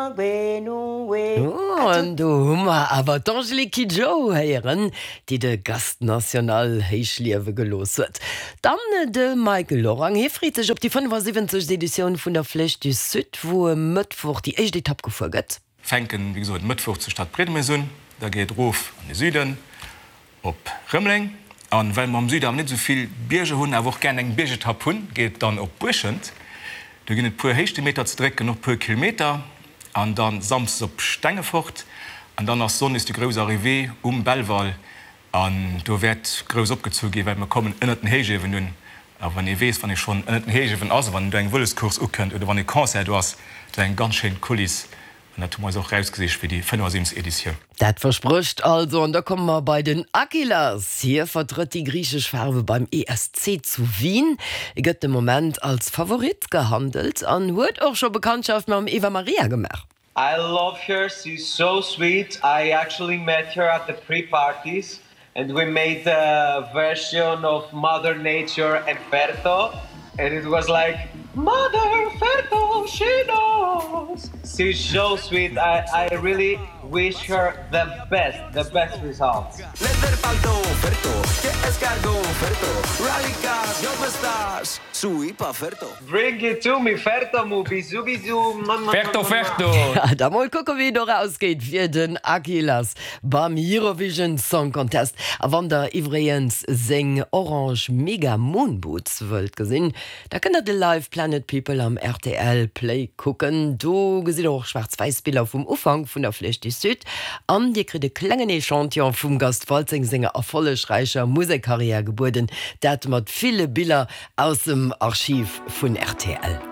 An do hu mer awer d'Angélique Kidjo héieren, déi de Gast National héich liewe gelooss huet. Dann de Mike Lorang, hie freet sech op déi 75. Editioun vun der Flèche du Sud, wou e Mëttwoch déi éischt Etapp gefuer gëtt. Fänken wéi gesot Mëttwoch zu Stadbriedemes un, da geet et erof an de Süden op Rëmeleng. An well mer am Süden awer net esou vill Bierger hunn, awer och gären eng Biergetapp hunn, geet et dann op Buerschent. Do ginn et puer Héichtemeter ze drécken, och puer Kilometer. An dann Samsdes op Stengefort. An dann ass Sonndes déi grouss Arrivée um Belval. An do wäert grouss opgezu ginn, well mer kommen ënnert den Héichiewen un. A wann ee weess, wann ee schonn ënnert den Héichiewen ass a wann do eng Vëloscourse ukënnt oder wann e Concert do ass, dat ass eng ganz schéin Kuliss. An dat hu mer eis och erausgesicht fir déi 75. Editioun. Dat versprécht also. An da komme mer bei den Akylas. Hie vertrëtt déi griichesch Faarwe beim ESC zu Wien, gëtt de Moment als Favorit gehandelt an huet och scho Bekanntschaft mam Eva Maria gemaach. I love her, she's so sweet, I actually met her at the pre-parties and we made a version of Mother Nature and Ferto and it was like Mother Ferto she knows she's so sweet I, I really wish her the best the best results. Bring it to me Ferto mu bisou bisou Ferto Ferto! Da mol kucke wéi et och ausgeet fir den Akylas beim Eurovision Song Contest. A wann der iwwregens seng orange Mega Moon Boots wëllt gesinn, da kënnt der de Live Planet People am rtl Play kucken. Do gesitt der och schwaarz-wäiss Biller vum Ufank vun der Flèche du Sud an dir kritt e klengen Echantillon vum Gast Waltzing senger erfollegräicher Musekkarriär gebueden, dat mat ville Biller Aus dem Archiv vun rtl.